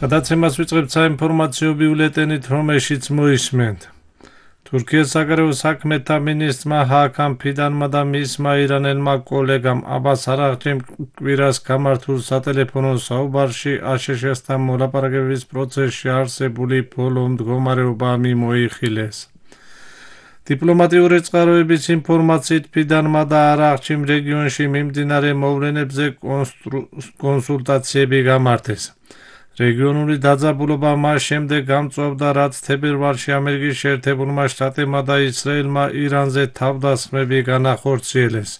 გადაცემას ვიწყებთ საინფორმაციო ბიულეტენით, რომელშიც მოისმენთ. თურქეთის საგარეო საქმეთა მინისტრმა ჰაკამ ფიდანმა და მისმა ირანელმა კოლეგამ აბას არაღჩიმ კვირას გამართულ სატელეფონო საუბარში აშშ-თან მოლაპარაკების პროცესში არსებული ბოლო მდგომარეობა მიმოიხილეს. დიპლომატიური წყაროების ინფორმაციით ფიდანმა და არაღჩიმ რეგიონში მიმდინარე მოვლენებზე კონსულტაციები გამართეს. რეგიონული დაძაბულობა მას შემდეგ გამწვავდა, რაც თებერვალში ამერიკის შეერთებულმა შტატებმა და ისრაელმა ირანზე თავდასხმები განახორციელეს.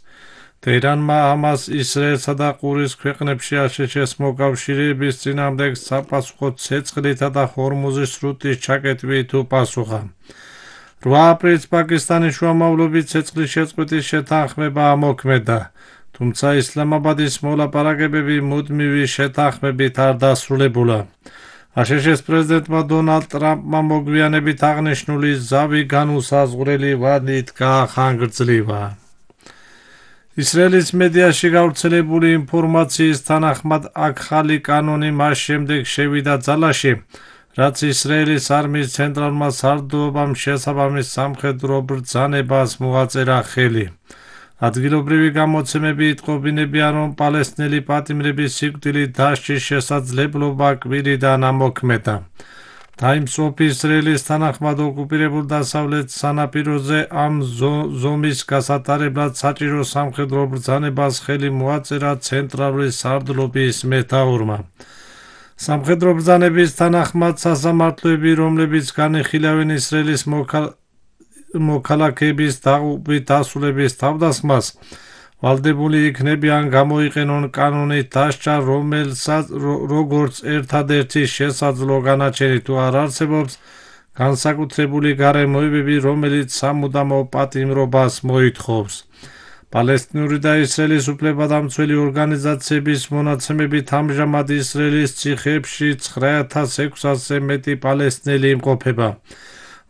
ტეჰრანმა ამას ისრაელსა და ყურის ქვეყნებში აშშ-ს მოკავშირეების წინააღმდეგ საპასუხო ცეცხლითა და ჰორმუზის სრუტის ჩაკეტვით უპასუხა. 8 აპრილს პაკისტანის შუამავლობით ცეცხლის შეწყვეტის შეთანხმება ამოქმედა, თუმცა ისლამაბადის მოლაპარაკებები მუდმივი შეთანხმებით არ დასრულებულა. აშშ-ის პრეზიდენტმა დონალდ ტრამპმა მოგვიანებით აღნიშნული ზავი განუსაზღვრელი ვადით გაახანგრძლივა. ისრაელის მედიაში გავრცელებული ინფორმაციის თანახმად ახალი კანონი მას შემდეგ შევიდა ძალაში, რაც ისრაელის არმიის ცენტრალურმა სარდლობამ შესაბამის სამხედრო ბრძანებას მოაწერა ხელი. ადგილობრივი გამოცემები იტყობინებიან, რომ პალესტინელი პატიმრების სიკვდილით დასჯის შესაძლებლობა კვირიდან ამოქმედა. Times of Israel-ის თანახმად ოკუპირებულ დასავლეთ სანაპიროზე ამ ზომის გასატარებლად საჭირო სამხედრო ბრძანებას ხელი მოაწერა ცენტრალური სარდლობის მეთაურმა. სამხედრო ბრძანების თანახმად სასამართლოები, რომლებიც განიხილავენ ისრაელის მოქალაქეების დაღუპვით დასრულების თავდასხმას, ვალდებული იქნებიან გამოიყენონ კანონით დასჯა, როგორც ერთადერთი შესაძლო განაჩენი თუ არ არსებობს განსაკუთრებული გარემოებები, რომელიც სამუდამო პატიმრობას მოითხოვს. პალესტინური და ისრაელის უფლებადამცველი ორგანიზაციების მონაცემებით ამჟამად ისრაელის ციხეებში 9600-ზე მეტი პალესტინელი იმყოფება.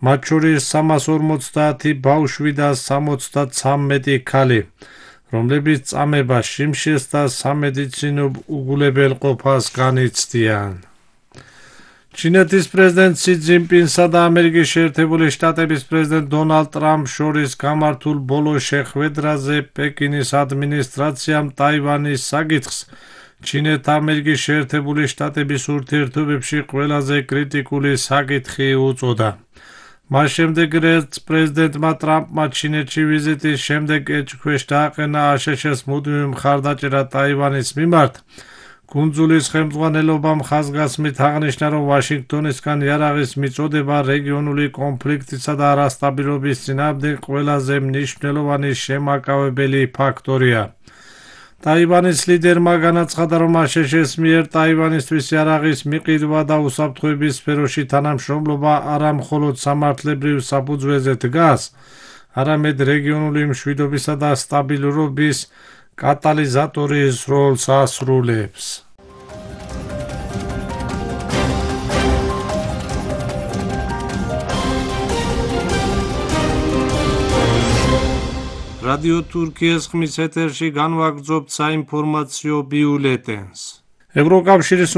მათ შორის 350 ბავშვი და 73 ქალი, რომლებიც წამება, შიმშილს და სამედიცინო უგულებელყოფას განიცდიან. ჩინეთის პრეზიდენტ სი ძინპინსა და ამერიკის შეერთებული შტატების პრეზიდენტ დონალდ ტრამპს შორის გამართულ ბოლო შეხვედრაზე პეკინის ადმინისტრაციამ ტაივანის საკითხს ჩინეთ-ამერიკის შეერთებული შტატების ურთიერთობებში ყველაზე კრიტიკული საკითხი უწოდა. მას შემდეგ, რაც პრეზიდენტმა ტრამპმა ჩინეთში ვიზიტის შემდეგ ეჭვქვეშ დააყენა აშშ-ს მუდმივი მხარდაჭერა ტაივანის მიმართ, კუნძულის ხელმძღვანელობამ ხაზგასმით აღნიშნა, რომ ვაშინგტონისგან იარაღის მიწოდება რეგიონული კონფლიქტისა და არასტაბილობის წინააღმდეგ ყველაზე მნიშვნელოვანი შემაკავებელი ფაქტორია. ტაივანის ლიდერმა განაცხადა, რომ აშშ-ის მიერ ტაივანისთვის იარაღის მიყიდვა და უსაფრთხოების სფეროში თანამშრომლობა არა მხოლოდ სამართლებრივ საფუძველზე დგას, არამედ რეგიონული მშვიდობისა და სტაბილურობის კატალიზატორის როლს ასრულებს. რადიო თურქიის ხმის ეთერში განვაგრძობთ საინფორმაციო ბიულეტენს. ევროკავშირის